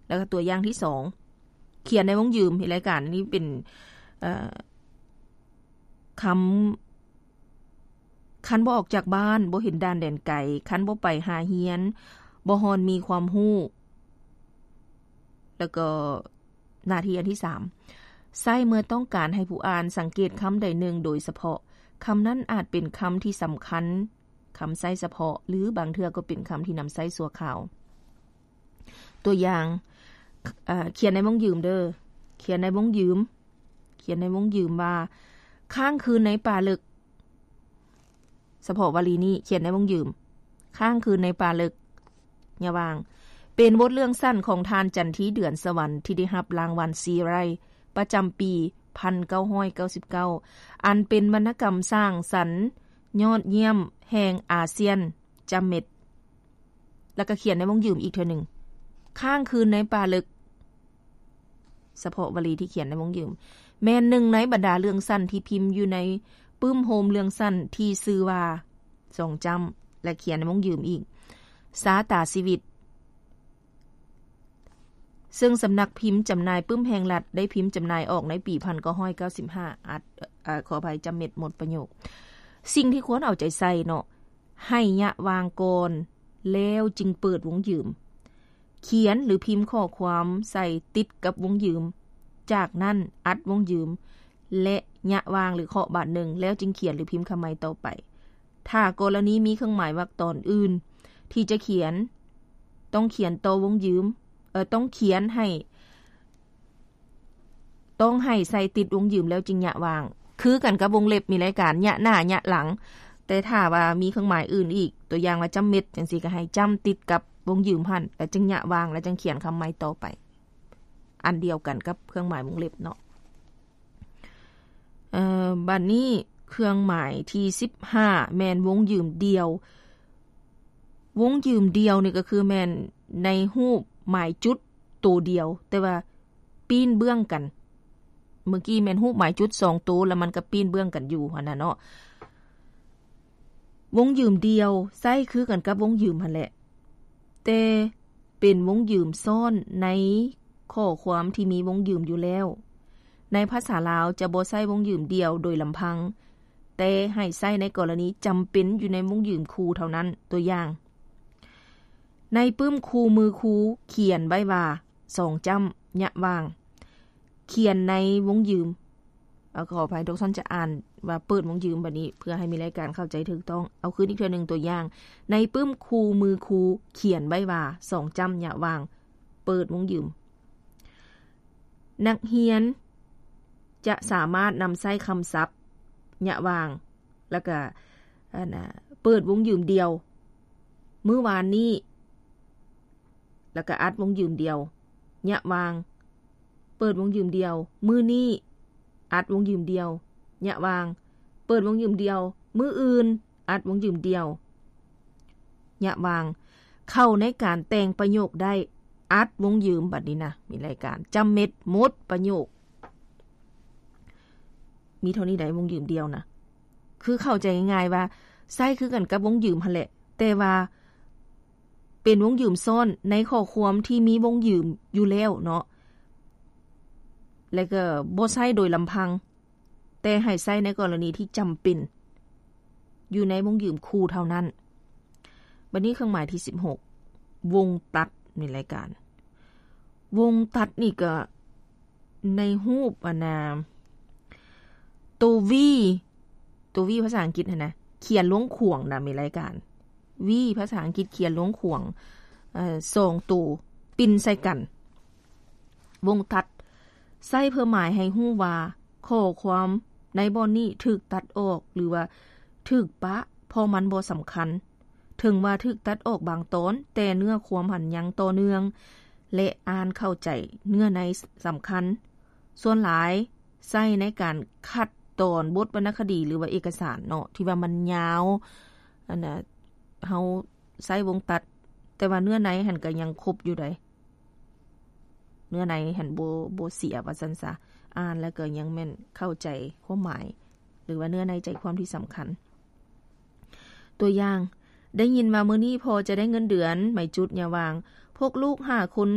ແລ້ວກໍຕົວຢ່າງທີສອງ ຂຽນໃນວົງຢືມ ເຮັດລາຍການ ອັນນີ້ເປັນ ເອີ ຄຳ ຄັນບໍ່ອອກຈາກບ້ານ ບໍ່ເຫັນດ່ານແດນໄກ ຄັນບໍ່ໄປຫາຮຽນ ບໍ່ຮອນມີຄວາມຮູ້ ແລ້ວກໍໜ້າທີ່ອັນທີສາມ ໃຊ້ເມື່ອຕ້ອງການໃຫ້ຜູ້ອ່ານສັງເກດຄຳໃດໜຶ່ງໂດຍສະເພາະ. ຄຳນັ້ນອາດເປັນຄຳທີ່ສຳຄັນ, ຄຳໃຊ້ສະເພາະ ຫຼື ບາງເທື່ອກໍເປັນຄຳທີ່ນຳໃຊ້ຊົ່ວຄາວ. ຕົວຢ່າງ, ເອີ ຂຽນໃນວົງຢືມເດີ, ຂຽນໃນວົງຢືມ, ຂຽນໃນວົງຢືມວ່າ ຄ້າງຄືນໃນປ່າເລິກ. ສະເພາະວະລີນີ້ ຂຽນໃນວົງຢືມ ຄ້າງຄືນໃນປ່າເລິກ ຍະຫວ່າງ ເປັນບົດເລື່ອງສັ້ນຂອງທ່ານ ຈັນທີ ເດືອນສະຫວັນ ທີ່ໄດ້ຮັບລາງວັນຊີໄຣ ປະຈຳປີ ພັນເກົ້າຮ້ອຍເກົ້າສິບເກົ້າ ອັນເປັນວັນນະກຳສ້າງສັນຍອດຢ້ຽມແຫ່ງອາຊຽນ ຈຳເມັດ ແລ້ວກໍຂຽນໃນວົງຢືມອີກເທື່ອໜຶ່ງ ຄ້າງຄືນໃນປ່າເລິກ. ສະເພາະວະລີທີ່ຂຽນໃນວົງຢືມ ແມ່ນໜຶ່ງໃນບັນດາເລື່ອງສັ້ນທີ່ພິມຢູ່ໃນປຶ້ມໂຮມເລື່ອງສັ້ນທີ່ຊື່ວ່າ ສອງຈ້ຳ ແລະ ຂຽນໃນວົງຢືມອີກ ຊາຕາຊີວິດ ເຊິ່ງສຳນັກພິມຈຳໜ່າຍປຶ້ມແຫ່ງລັດ ໄດ້ພິມຈຳໜ່າຍອອກໃນປີ ພັນເກົ້າຮ້ອຍເກົ້າສິບຫ້າ ອັດ ເອີ ຂໍອະໄພ ຈຳເມັດ ໝົດປະໂຫຍກ. ສິ່ງທີ່ຄວນເອົາໃຈໃສ່ເນາະ ໃຫ້ຍະຫວ່າງກ່ອນ ແລ້ວຈຶ່ງເປີດວົງຢືມ. ຂຽນ ຫຼື ພິມຂໍ້ຄວາມໃສ່ຕິດກັບວົງຢືມ, ຈາກນັ້ນອັດວົງຢືມ ແລະ ຍະຫວ່າງ ຫຼື ເຄາະບາດໜຶ່ງ ແລ້ວຈຶ່ງຂຽນ ຫຼື ພິມຄຳໃໝ່ຕໍ່ໄປ. ຖ້າກໍລະນີມີເຄື່ອງໝາຍວາກຕອນອື່ນທີ່ຈະຂຽນ, ຕ້ອງຂຽນຕໍ່ວົງຢືມ, ເອີ, ຕ້ອງຂຽນໃຫ້ ຕ້ອງໃຫ້ໃສ່ຕິດວົງຢືມແລ້ວຈຶ່ງຍະຫວ່າງ ຄືກັນກັບວົງເລັບ ມີລາຍການຍະໜ້າ ຍະຫຼັງ. ແຕ່ຖ້າວ່າມີເຄື່ອງໝາຍອື່ນອີກ ຕົວຢ່າງວ່າຈ້ຳເມັດ ຈັ່ງຊີ້ ກໍໃຫ້ຈ້ຳຕິດກັບວົງຢືມຫັ້ນ ແລ້ວຈຶ່ງຍະຫວ່າງ ແລ້ວຈຶ່ງຂຽນຄຳໃໝ່ຕໍ່ໄປ ອັນດຽວກັນກັບເຄື່ອງໝາຍວົງເລັບເນາະ. ເອີ ບັດນີ້ເຄື່ອງໝາຍທີສິບຫ້າ ແມ່ນວົງຢືມດ່ຽວ. ວົງຢືມດ່ຽວນີ້ກໍຄືແມ່ນໃນຮູບໝາຍຈຸດໂຕດຽວ ແຕ່ວ່າປີ້ນເບື້ອງກັນ. ເມື່ອກີ້ແມ່ນຮູບໝາຍຈຸດສອງໂຕ ແລ້ວມັນກໍປີ້ນເບື້ອງກັນຢູ່ຫັ້ນນະເນາະ. ວົງຢືມດ່ຽວໃຊ້ຄືກັນກັບວົງຢືມຫັ້ນແຫຼະ ແຕ່ເປັນວົງຢືມຊ້ອນໃນຂໍ້ຄວາມທີ່ມີວົງຢືມຢູ່ແລ້ວ. ໃນພາສາລາວຈະບໍ່ໃຊ້ວົງຢືມດ່ຽວໂດຍລຳພັງ, ແຕ່ໃຫ້ໃຊ້ໃນກໍລະນີຈຳເປັນຢູ່ໃນວົງຢືມຄູ່ເທົ່ານັ້ນ. ຕົວຢ່າງ, ໃນປຶ້ມຄູ່ມືຄູຂຽນໄວ້ວ່າ ສອງຈ້ຳ ຍະຫວ່າງ ຂຽນໃນວົງຢືມ ເອົາ ຂໍອະໄພ ດອກຊອນຈະອ່ານວ່າເປີດວົງຢືມ ບັດນີ້ເພື່ອໃຫ້ມີລາຍການເຂົ້າໃຈຖືກຕ້ອງ. ເອົາຄືນອີກເທື່ອໜຶ່ງ ຕົວຢ່າງ, ໃນປຶ້ມຄູ່ມືຄູຂຽນໄວ້ວ່າ ສອງຈ້ຳ ຍະຫວ່າງ ເປີດວົງຢືມ. ນັກຮຽນຈະສາມາດນຳໃຊ້ຄຳສັບ ຍະຫວ່າງ ແລ້ວກະ ອັນນະ ເປີດວົງຢືມດ່ຽວ ມື້ວານນີ້ ແລ້ວກະອັດວົງຢືມດ່ຽວ ຍະຫວ່າງ ເປີດວົງຢືມດ່ຽວ ມື້ນີ້ ອັດວົງຢືມດ່ຽວ ຍະຫວ່າງ ເປີດວົງຢືມດ່ຽວ ມື້ອື່ນ ອັດວົງຢືມດ່ຽວ ຍະຫວ່າງ ເຂົ້າໃນການແຕ່ງປະໂຫຍກໄດ້ ອັດວົງຢືມ. ບັດນີ້ນະ ມີລາຍການ ຈຳເມັດ ໝົດປະໂຫຍກ. ມີເທົ່ານີ້ໃດ ວົງຢືມດ່ຽວນະ ຄືເຂົ້າໃຈງ່າຍໆວ່າໃຊ້ຄືກັນກັບວົງຢືມຫັ້ນແຫຼະ ແຕ່ວ່າເປັນວົງຢືມຊ້ອນໃນຂໍ້ຄວາມທີ່ມີວົງຢືມຢູ່ແລ້ວເນາະ ແລະ ກໍບໍ່ໃຊ້ໂດຍລຳພັງ ແຕ່ໃຫ້ໃຊ້ໃນກໍລະນີທີ່ຈຳເປັນ ຢູ່ໃນວົງຢືມຄູ່ເທົ່ານັ້ນ. ບັດນີ້ເຄື່ອງໝາຍທີສິບຫົກ ວົງຕັດ ໃນລາຍການ ວົງຕັດນີ້ກໍໃນຮູບ ອັນນາ ໂຕ V ໂຕ V ພາສາອັງກິດຫັ້ນນະ ຂຽນລວງຂວາງນະ ມີລາຍການ V ພາສາອັງກິດຂຽນລວງຂວາງ ເອີ ສອງໂຕປິ່ນໃສ່ກັນ. ວົງຕັດ ໃຊ້ເພື່ອໝາຍໃຫ້ຮູ້ວ່າ ຂໍ້ຄວາມໃນບ່ອນນີ້ຖືກຕັດອອກ ຫຼືວ່າຖືກປະ ເພາະມັນບໍ່ສຳຄັນ. ເຖິງວ່າຖືກຕັດອອກບາງຕອນ, ແຕ່ເນື້ອຄວາມຫັ້ນຍັງຕໍ່ເນື່ອງ ແລະ ອ່ານເຂົ້າໃຈເນື້ອໃນສຳຄັນ. ສ່ວນຫຼາຍໃຊ້ໃນການຄັດຕອນບົດວັນນະຄະດີ ຫຼືວ່າເອກະສານເນາະ ທີ່ວ່າມັນຍາວ ອັນນະ ເຮົາໃຊ້ວົງຕັດ ແຕ່ວ່າເນື້ອໃນຫັ້ນກໍຍັງຄົບຢູ່ໃດ. ເນື້ອໃນຫັ້ນບໍ່ ບໍ່ເສຍວ່າຊັ້ນຊະ, ອ່ານແລ້ວກໍຍັງແມ່ນເຂົ້າໃຈຄວາມໝາຍ ຫຼືວ່າເນື້ອໃນໃຈຄວາມທີ່ສຳຄັນ. ຕົວຢ່າງ, ໄດ້ຍິນວ່າມື້ນີ້ພໍ່ຈະໄດ້ເງິນເດືອນ, ໝາຍຈຸດ ຍະຫວ່າງ, ພວກລູກຫ້າຄົນ